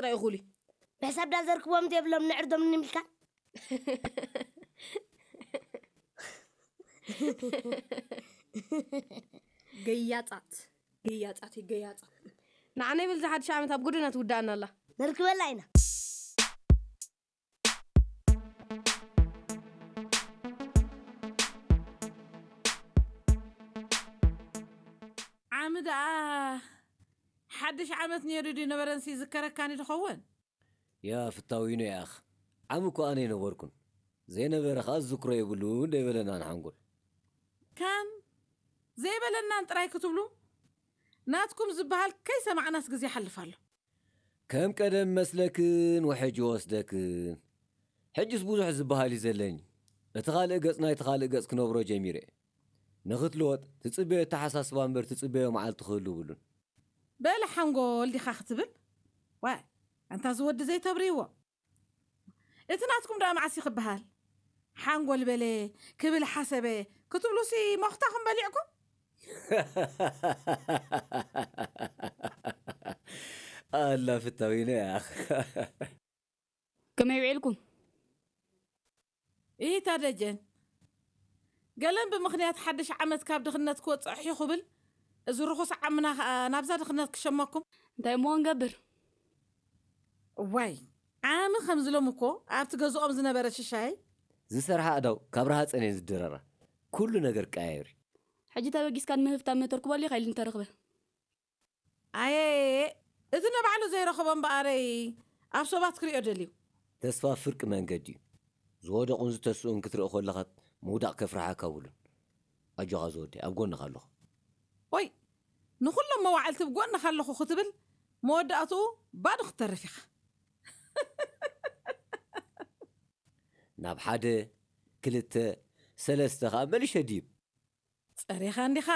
ጥራይ ይኹሉ። ብሕሳብ ዳ ዘርክቦም ዘይብሎም ንዕርዶም ንምልካ። ገያጻት፣ ገያጻት፣ ገያጻት። ንዓና ይብል ዝሓድሽ ዓመት ኣብ ጎደና ትውዳእና ኣላ። ነርክበላ ኢና። ዓሚ ደኣ ሓድሽ ዓመት ነይሩ ድዩ ነበረንሲ ዝከረካኒ ድኸውን? ያ ፍታዊኖ ያኽ፣ ዓሚ እኮ ኣነ ኣይነበርኩን። ዘይነበረ ኸኣ ዝዝክሮ የብሉን ደይበለናን ሓንጎል። ከም ዘይበለናን ጥራይ ክትብሉ? ናትኩም ዝበሃል ከይሰማዕናስ ግዜ ይሓልፍ ኣሎ። ከም ቀደም መስለክን ውሕጅ ይወስደክን። ሕጅስ ብዙሕ ዝበሃል እዩ ዘለኒ። እቲ ካልእ ገጽ ናይቲ ካልእ ገጽ ክነብሮ ጀሚረ እየ። ንኽትልወጥ ትጽበዮ ኣተሓሳስባ እምበር ትጽበዮ መዓልቲ ክህሉ የብሉን። በለ ሓንጎል ዲኻ ክትብል? ዋይ፣ ኣንታ እዚ ወዲ ዘይተብርይዎ። እቲ ናትኩም ደኣ መዓስ እዩ ክበሃል? ሓንጎል በለ ክብል ሓሰበ ክትብሉሲ መኽታኹም በሊዕኩም? ኣላ ፍታዊነ ያኽ። ከመይ ውዒልኩም? ኢታ ደጀን፣ ገለን ብምኽንያት ሓድሽ ዓመት ካብ ድኽነት ክወጽእ ኣሕዩ ክብል፣ እዚ ርኹስ ዓምና ኸኣ ናብዛ ድኽነት ክሸመኩም። እንታይ እሞ ክንገብር? እዋይ፣ ዓሚ ከም ዝሎም እኮ ኣብቲ ገዝኦም ዝነበረ ሽሻይ። ዝሰርሓ ኣእዳው ካብ ረሃጸን እየን ዝድረራ። ኩሉ ነገር ቀያይር እዩ። ሕጂ ተበጊስካ ንምህፍታም ተርክበሉ ኢኻ ኢሉ እንተረኽበ። ኣየ፣ እቲ ንባዕሉ ዘይረኸቦ እምበኣረይ ኣብ ሰባት ክሪኦ ደልዩ። ተስፋ ፍርቂ መንገዲ እዩ። ዝወደቑን ዝተስኡን ክትርኢ ከለኻ ምውዳቕ ከፍርሓካ ውሉን። ኣጆኻ ዝወደይ፣ ኣብ ጎንኻ ኣለኹ። ኦይ፣ ንኹሎም መዋዕልቲ ብጎንኻ ኣለኹ ክትብል መወዳእትኡ ባዶ ክትተርፍ ኢኻ። ናብ ሓደ፣ ክልተ፣ ሰለስተ ኸኣ መሊሸ ድይብ። ጸሪኻ እንዲኻ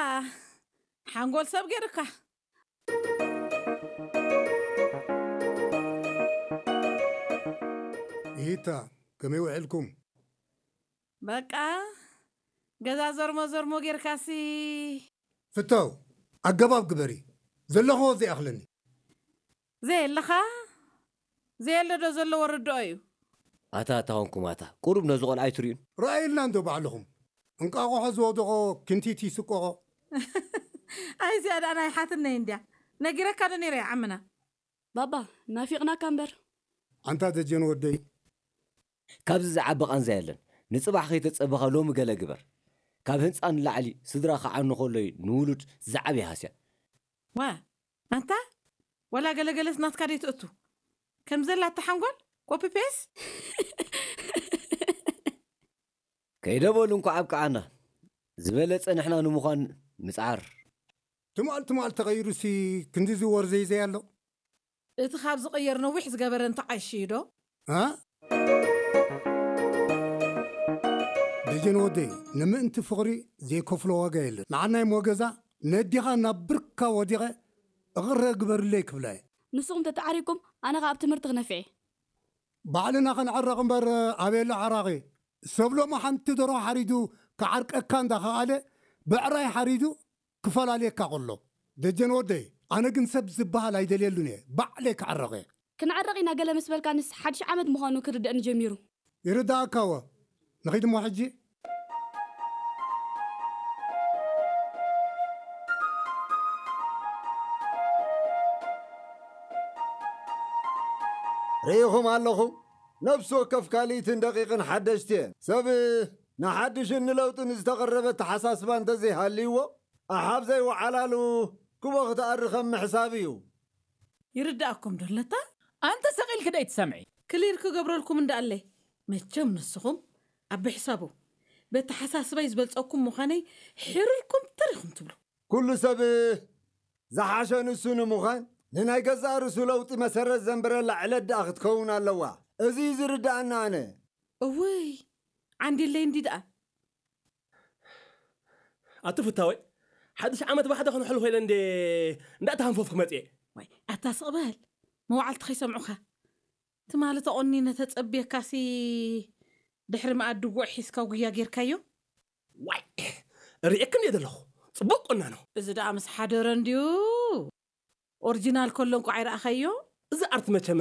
ሓንጎል ሰብ ገይሩካ። ኢታ፣ ከመይ ውዕልኩም? በቃ፣ ገዛ ዘርሞ ዘርሞ ጌርካሲ። ፍታው፣ ኣገባብ ግበሪ። ዘለኽዎ ዘይኣኽለኒ። ዘየለኻ፣ ዘየለ ዶ ዘለዎ ርድኦ እዩ። ኣታ፣ ኣታ ኾንኩም ኣታ፣ ቁሩብ ነዚ ቖልዓ ኣይትርእዩን? ረኣዩልና እንዶ ባዕልኹም። እንቃቑሖ ዝወደቖ ክንቲት ይስቆቖ። ኣይ፣ እዚኣ ደኣ ናይ ሓትነይ እንድያ። ነጊረካ ዶ ነይረ እየ ዓምና? ባባ፣ ናፊቕናካ እምበር። ኣንታ ደጀን ወደይ። ካብዚ ዝዓቢ ቃንዛ የለን። ንጽባሕ ከይተጸበኻ ሎሚ ገለ ግበር። ካብ ህንጻ ንላዕሊ ስድራ ክዓኑ ከሎ እዩ ንውሉድ ዝዓቢ ሃስያ። ዋ፣ ኣንታ፣ ወላ ገለገለስ ናትካ ደይትእቱ። ከም ዘላ እታ ሓንጎል፣ ኮፒ ፔስ። ከይደ በሉ እንኳዕ ኣብቅዓና። ዝበለጸ ንሕና ንምዃን ምጽዓር። ትማል ትማል ተቐይሩሲ ክንዲ ዝወር ዘይዘይ ኣሎ። እቲ ካብ ዝቕየር ነዊሕ ዝገበረ እንተዓይሽዩ ዶ? እ? ደጀን ወደይ፣ ንምእንቲ ፍቕሪ ዘይከፍሎ ዋጋ የለን። ንዓናይ ሞገዛ ነዲኻ ናብ ብርካ ወዲቐ እቕረ ግበርለይ ክብላ እየ። ንስኹም ተተዓሪቅኩም፣ ኣነ ኸኣ ኣብ ትምህርቲ ክነፍዕ እየ። ባዕልና ክንዕረቕ እምበር ኣበየሎ ዓራቒ። ሰብ ሎሚ ሓንቲ ደርሆ ሓሪዱ ክዓርቀካ እንዳኸኣለ፣ ብዕራይ ሓሪዱ ክፈላልየካ ከሎ። ደጀን ወደይ፣ ኣነ ግን ሰብ ዝበሃል ኣይደልየሉን እየ። ባዕለይ ክዕረቕ እየ። ክንዕረቕ ኢና ገለ ምስ በልካንስ፣ ሓድሽ ዓመት ምዃኑ ክርደእኒ ጀሚሩ። ይርድኣካ እወ። ንኺድ እሞ ሕጂ። ርኢኹም ኣለኹም፣ ነፍሲ ወከፍ ካልኢትን ደቂቕን ሓደሽቲ እየን። ሰብ ንሓድሽን ንለውጥን ዝተቐረበ ኣተሓሳስባ እንተዘይሃልይዎ፣ ኣሓብ ዘይወዓላሉ ክቦ ክትኣሪ ከም ምሕሳብ እዩ። ይርድኣኩም ዶ ኣለታ? ኣንተ ሰቕ ኢልኪ ደይ ትሰምዒ? ክሊር ክገብረልኩም እንዳኣለይ። መቸም ንስኹም ኣብ ብሕሳቡ፣ በተሓሳስባይ ዝበልጸኩም ምዃነይ ሕርልኩም ተሪኹም ትብሉ። ኩሉ ሰብ ዝሓሸ ንሱ ንምዃን ንናይ ገዛእ ርእሱ ለውጢ መሰረት ዘንብረላ ዕለት ደኣ ክትከውን ኣለዋ። እዚ እዩ ዝርድኣና ኣነ። እውይ፣ ዓንዲለይ እንዲ ደኣ። ኣቲ ፍታወይ፣ ሓድሽ ዓመት ብሓደ ክንሕልፎ ኢለ እንዴ እንዳተሃንፈፍኩ መጽኤ። ዋይ፣ ኣታ ስቕ በል። መዋዕልቲ ከይሰምዑኻ። ትማሊ ተቖኒነ ተጸብየካሲ ድሕሪ መኣዲ ጉዕ ሒዝካ ጉያ ጌርካዮ? ዋይ፣ ርእየክን እየ ዘለኹ። ጽቡቕ ቁናኖ። እዚ ደኣ ምስ ሓደረ እንድዩ። ኦሪጂናል ከሎ እንኳ ኣይረኣኻዮ? እዚ ኣርት መቸመ